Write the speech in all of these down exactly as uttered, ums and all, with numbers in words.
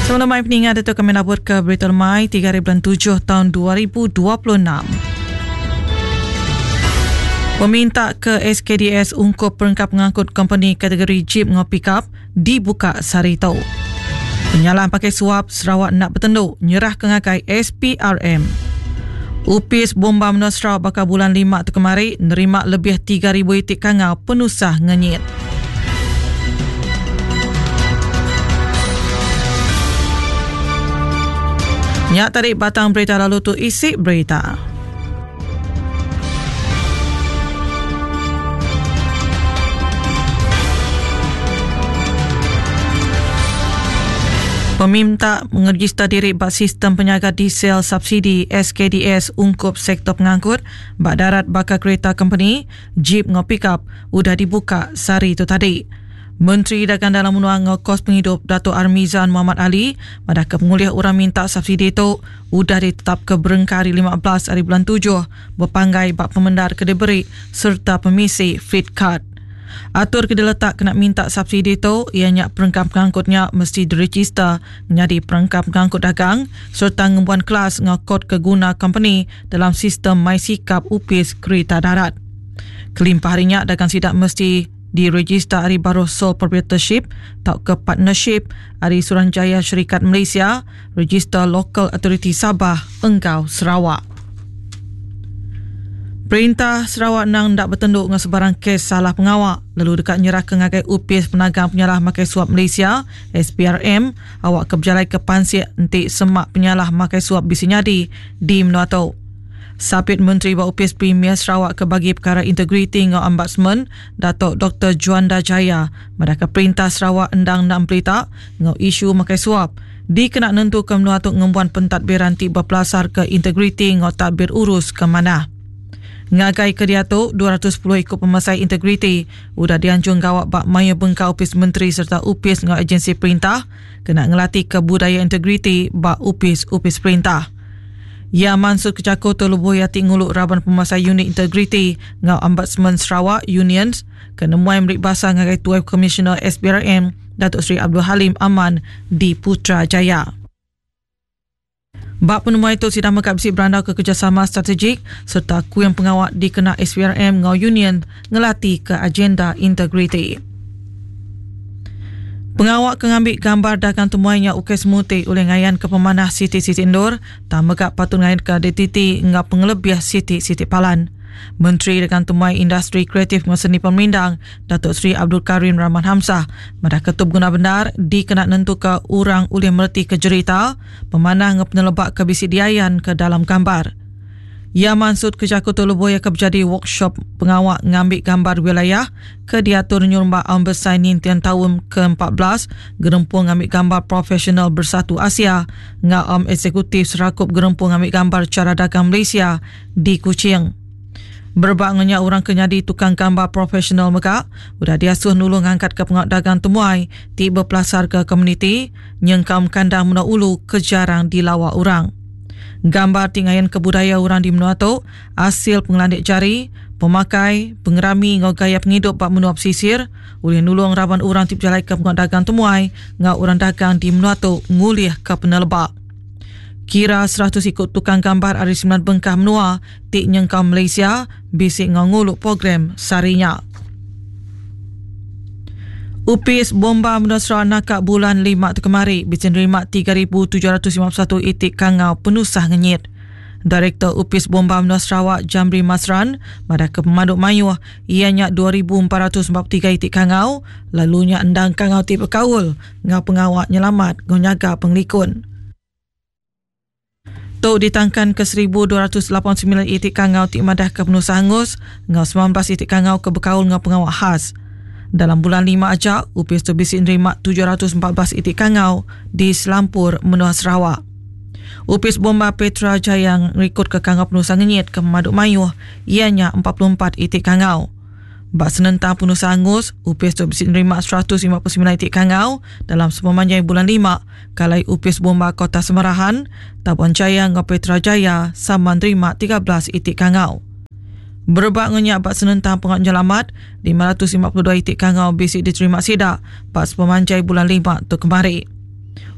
Sebelum mai peningat itu kami nabur ke Berita Lemai tiga hari bulan tujuh tahun dua ribu dua puluh enam. Peminta ke S K D S ungkup perengkap pengangkut kompeni kategori Jeep ngau pickup dibuka sehari itu. Penyalahan pakai suap Sarawak nak bertenduk nyerah ke ngagai S P R M. Upis Bomba Menua Sarawak bakal bulan lima tu kemari nerima lebih tiga ribu itik kangau penusah ngenyit. Nyak tarik batang berita lalu tu isi berita. Peminta mengeregister diri bak sistem penyaga diesel subsidi S K D S ungkup sektor pengangkut bak darat bakal kereta company Jeep ngau pickup udah dibuka sehari itu tadi. Menteri Dagang Dalam Menua ngau Kos Penghidup Dato' Armizan Muhammad Ali pada kepengulih orang minta subsidi itu udah ditetap ke berengkari lima belas hari bulan tujuh berpanggai bak pemendar kediberi serta pemisi fleet card. Atur ke diletak kena minta subsidi itu ianya perengkap pengangkutnya mesti diregister menjadi perengkap pengangkut dagang serta ngembuan kelas ngau kod keguna company dalam sistem MySikap Upis Kereta Darat. Kelimpah harinya dagang sidak mesti diregister hari baru sole proprietorship atau ke partnership hari Suruhanjaya Syarikat Malaysia, register Local Authority Sabah, Engkau Sarawak. Perintah Sarawak nang ndak bertenduk dengan sebarang kes salah pengawak lalu dekat nyerah ke ngagai Upis Penagang Penyalah Makai Suap Malaysia S P R M awak ke berjalai ke pansik entik semak penyalah makai suap bisi nyadi di menua tu. Sapit Menteri Bawah Upis Premier Sarawak ke bagi perkara integriti ngau Ombudsman Datuk Doktor Juanda Jaya madahka perintah Sarawak endang nak berita ngau isu makai suap dikena nentu ke menua tu ngembuan pentadbiran ti berpelasar ke integriti ngau tadbir urus ke mana. Ngagai ke dia tu, dua ratus sepuluh ikut pemasai integriti udah dianjung gawak bak maya bengkau upis menteri serta upis ngau agensi perintah kena ngelatih ke budaya integriti bak upis-upis perintah. Ya Mansur Kecako Tolubuh Yati Nguluk Raban Pemasai Unit Integriti ngau Ombudsman Sarawak Unions kena muai merik basah ngagai Tuai Komisioner S P R M Datuk Seri Abdul Halim Aman di Putrajaya. Bak penemuan itu sidang mekap bisi berandau ke kerjasama strategik serta kuing pengawak dikena S P R M ngau Union ngelati ke agenda integriti. Pengawak ke ngambil gambar dagang temuainya ukes muti oleh ngayan ke pemanah Siti Siti Endur tak megak patut ngayan ke D T T ngau pengelebih Siti Siti Palan. Menteri Dagang Temuai Industri Kreatif dan Seni Pemerindang Datuk Seri Abdul Karim Rahman Hamzah madah ketub guna benar dikena nentu ke orang ulih merti ke jerita pemanah ngau penelebak ke bisi diayan ke dalam gambar. Ia maksud ke Jakarta Luboya ke berjadi workshop pengawak ngambil gambar wilayah ke diatur nyurumba Am Besai Nintian tahun ke empat belas Gerempung Ngambil Gambar Profesional Bersatu Asia ngau Am Eksekutif Serakup Gerempung Ngambil Gambar Cara Dagang Malaysia di Kuching. Berbak ngenyak orang kenyadi tukang gambar profesional mega udah diasuh nulung angkat ke pengawak dagang temuai tiba pelasar ke komuniti nyengkam kandang menua ulu kejarang dilawak orang. Gambar tingayan kebudaya orang di menua tu, hasil pengelandik jari, pemakai, pengerami ngau gaya penghidup bak menua pesisir, ulih nulung raban orang ti berjalai ke pengawak dagang temuai ngau orang dagang di menua tu ngulih ke penelebak. Kira seratus ikut tukang gambar ari sembilan bengkah menua ti nyengkau Malaysia bisik ngau nguluk program sarinya. Upis Bomba Menua Sarawak nakak bulan lima tu kemari bisa nerima tiga ribu tujuh ratus lima puluh satu itik kangau penusah ngenyit. Direktur Upis Bomba Menua Sarawak Jamri Masran pada ke pemaduk mayuh ianya dua ribu empat ratus empat puluh tiga itik kangau lalunya endang kangau ti berkaul ngau pengawak nyelamat ngau nyaga penglikun. Tok ditangkan ke seribu dua ratus lapan puluh sembilan itik kangau ti madah ke penusah hangus ngau sembilan belas itik kangau ke berkaul ngau pengawak khas. Dalam bulan lima aja, Upis tu bisi nerima tujuh ratus empat belas itik kangau di Selampur, Menua Sarawak. Upis Bomba Petra Jaya ngerikut ke kangau penusah ngenyit ke Maduk Mayuh, ianya empat puluh empat itik kangau. Bak senentang penusah hangus, Upis tu bisi nerima seratus lima puluh sembilan itik kangau dalam sepemanjang bulan lima, kalai Upis Bomba Kota Semarahan, Tabuan Jaya ngau Petra Jaya sama nerima tiga belas itik kangau. Berebak ngenyak bak senentang pengawak nyelamat, lima ratus lima puluh dua itik kangau bisi diterima sidak bak sepemanjai bulan lima tu kemari.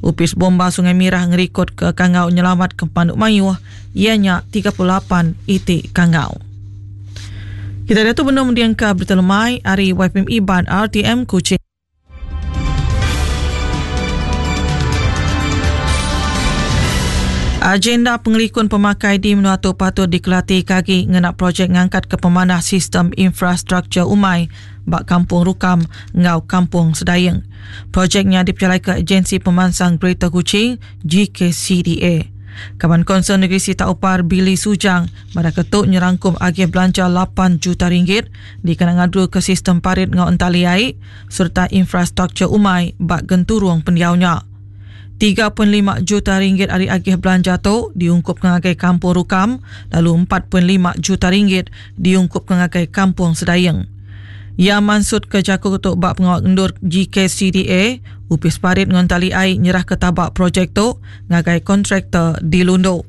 Upis Bomba Sungai Mirah ngerikod ke kangau nyelamat ke Panduk Mayuh ianya tiga puluh lapan itik kangau. Kita dah tu benar mendiang ke berita lemai hari Y F M Iban R T M Kuching. Agenda pengelikun pemakai di Menua Tu patut dikelati kagi ngena projek ngangkat ke pemanah sistem infrastruktur umai bak Kampung Rukam ngau Kampung Sedayeng. Projeknya diperjalai ke Agensi Pemansang Greater Kuching G K C D A. Kaban Konsel Negeri Sita Upar Billy Sujang pada ketuk nyerangkum agih belanja lapan juta ringgit dikena ngadu ke sistem parit ngau entali air serta infrastruktur umai bak genturung pendiaunya. tiga perpuluhan lima juta ringgit hari agih belanja tu diungkup ngagai Kampung Rukam, lalu empat perpuluhan lima juta ringgit diungkup ngagai Kampung Sedayeng. Ia mansut ke jaku ketuk bak pengawal ngendur G K C D A, Upis Parit ngontali ai nyerah ke tabak projek tu ngagai kontraktor di Lundu.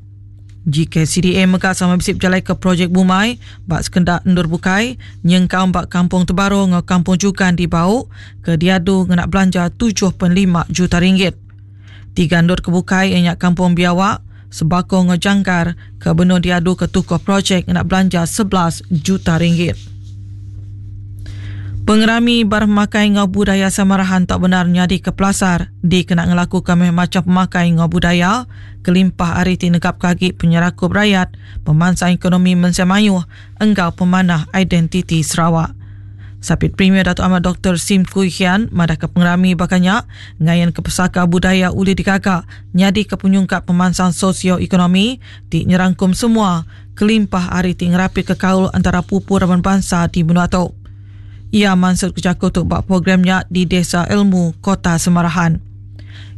G K C D A mega sama bisip berjalai ke projek Bumai bak sekendak endur bukai nyengkau bak Kampung Tebaro ngau Kampung Jugan di Bau ke diadu ngena belanja tujuh perpuluhan lima juta ringgit. Tiga endur kebukai ianya Kampung Biawak, Sebakong ngau Jangkar ke benur diadu ke tukuh projek ngena belanja sebelas juta ringgit. Pengerami bermakai ngau budaya Samarahan tak benar nyadi ke pelasar dikena ngelakukan macam pemakai ngau budaya kelimpah hari ti negap kagi penyerakup rakyat, pemansang ekonomi mensemayuh enggau pemanah identiti Sarawak. Sapit Premier Datuk Ahmad Doktor Sim Kui Hian madah ke pengerami bakanya ngayan ke pesaka budaya uli dikagak nyadi ke penyungkap pemansang sosioekonomi ti nyerangkum semua kelimpah hari ti ngerapi ke kaul antara pupu raban bangsa di benua tu. Ia mansut kejaku tu bak programnya di Desa Ilmu Kota Semarahan.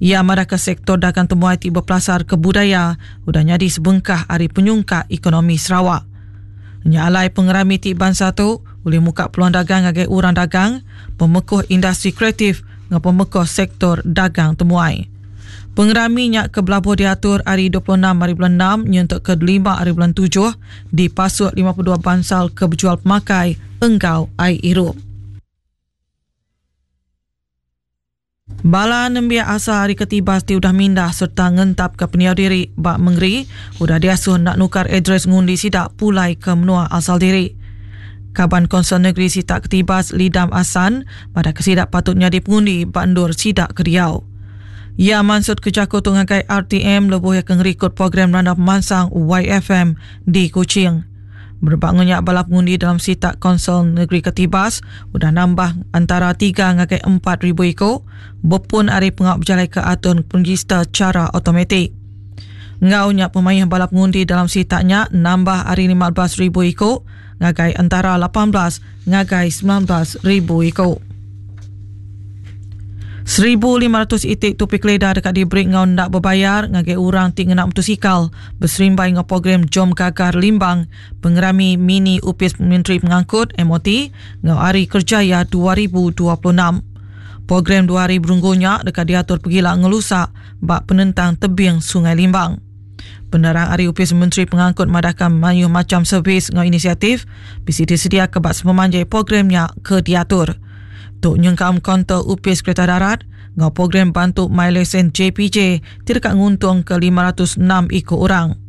Ia madah ke sektor dagang temuai ti berpelasar ke budaya udah nyadi sebengkah hari penyungkak ekonomi Sarawak. Nyalai pengerami ti bangsa tu boleh muka peluang dagang ngagai orang dagang, pemekuh industri kreatif dengan pemekuh sektor dagang temuai. Pengerami nyak ke belabuh diatur hari dua puluh enam hari bulan enam nyentuk ke lima hari bulan tujuh di pasuk lima puluh dua bansal ke berjual pemakai enggau air irup. Bala nembiak asal hari ketibas ti udah mindah serta ngentap ke peniau diri bak mengeri udah diasuh nak nukar adres ngundi sidak pulai ke menua asal diri. Kaban Konsel Negeri Sitak Ketibas Lidam Asan pada kesidak patutnya dipengundi bandur sidak ke Riau. Ia mansut ke jaku tu ngagai R T M lebuh yang ngerikut program Randap Pemansang Y F M di Kuching. Berbangunnya bala pengundi dalam Sitak Konsel Negeri Ketibas udah nambah antara tiga ngagai empat ribu iko berpun hari pengap berjalai ke atun penregister cara automatik. Ngaunya pemain bala pengundi dalam sitaknya nambah hari lima belas ribu iko ngagai antara lapan belas ngagai sembilan belas ribu iko. Seribu lima ratus itik tupi keleda dekat diberi ngau ndak berbayar ngagai orang ti ngena motosikal berserimbai ngau program Jom Gagar Limbang pengerami mini Upis Menteri Pengangkut M O T ngau Hari Kerjaya dua ribu dua puluh enam. Program dua hari berunggunya dekat diatur pergila ngelusak bak penentang tebing Sungai Limbang. Penerang Hari Upis Menteri Pengangkut madahkan mayuh macam servis ngau inisiatif B C D sedia ke bak sepemanjai programnya ke diatur. Tok nyengkam konter Upis Kereta Darat ngau program bantu MyLesen J P J tidak nguntung ke lima ratus enam ikut orang.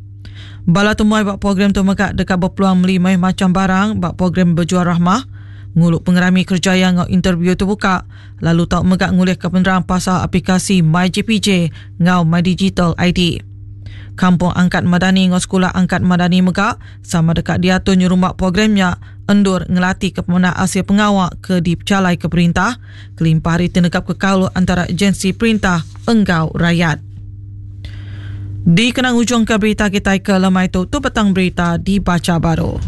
Bala temuai bak program tu megak dekat berpeluang beli mayuh macam barang bak program berjual rahmah, nguluk pengerami kerjaya ngau interview terbuka, lalu tau megak ngulih ke penerang pasal aplikasi MyJPJ ngau MyDigital I D. Kampung Angkat Madani ngau Sekolah Angkat Madani megak sama dekat diatur nyerumpak programnya endur ngelati ke pemenang hasil pengawak ke dipecalai ke perintah kelimpah hari tenegap ke kaul antara agensi perintah enggau rakyat. Di kenang ujung ke berita kita ke lemai tu, tu petang berita dibaca baru.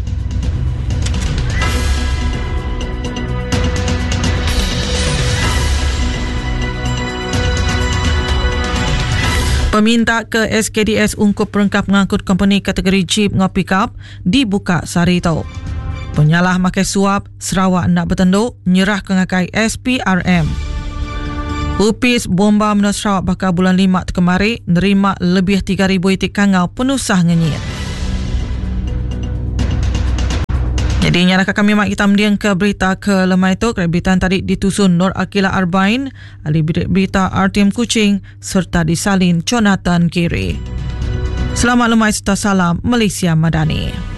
Peminta ke S K D S ungkup perengkap pengangkut company kategori Jeep ngau pickup dibuka sehari tu. Penyalah makai suap Sarawak nak bertenduk nyerah ke ngakai S P R M. Upis bomba menua Sarawak bakal bulan lima tu kemari nerima lebih tiga ribu itik kangau penusah ngenyit. Jadi nyaraka kami mak kita mending ke berita ke lemai tu kena berita tadi ditusun Nur Akila Arbain, ahli berita R T M Kuching serta disalin Jonathan Giri. Selamat lemai serta salam Malaysia Madani.